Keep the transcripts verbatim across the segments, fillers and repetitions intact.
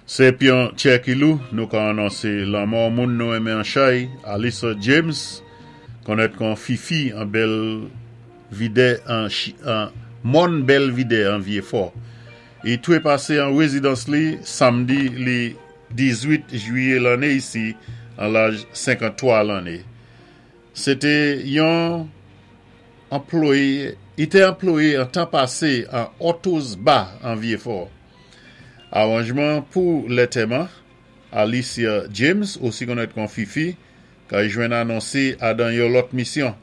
Sé pi yon tjè ki lou, nou ka anonsé lanmò moun nou enmen an chay, Alissa James, konnèt kon Fifi an Bèlvidè an, an Mòn Bèlvidè an Vyéfò. I twé pasé an wézidans li samdi li diz-wit jwiyé lanné isi an laj senkanntwa lanné. Sé té yon anplwayé, i té anplwayé an tan pasé an Otto's Bar an Vyéfò. Awanjman pou lantèman, Alicia James, osi konnèt kon Fifi, ka jwenn anonsé adan yon lòt misyon.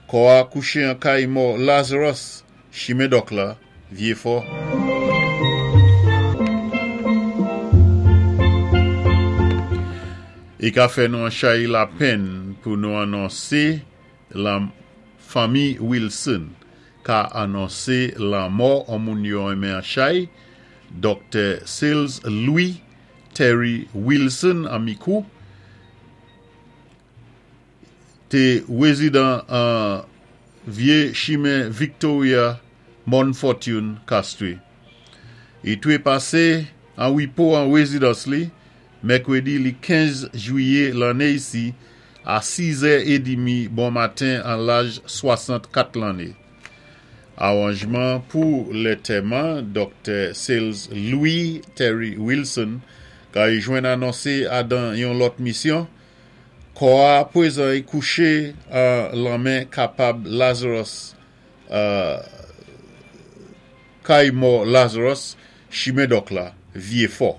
Kò a kouché an kay mò Lazarus, chimen Dòk la, Vyéfò. I ka fè nou an chay lapenn pou nou anonsé la fanmi Wilson ka anonsé lanmò an moun yo enmen an chay, Doktè Sales Louis Terry Wilson an Mikou, té wézidan an Vyé Chimen Victoria, Morne Fortune, Castries. I twé pasé an wépo an wézidans li, mèkwédi li kenz jwiyé lanné isi, a sis è é demi bon maten an laj swasannkat lanné. Awanjman pou lantèman Doktè Sales Louis Terry Wilson ka y jwenn anonsé adan yon lòt misyon. Kò a pwézan i kouché an lanmen kapab Lazarus, euh, kay mò Lazarus, chimen Dòk la, Vyéfò.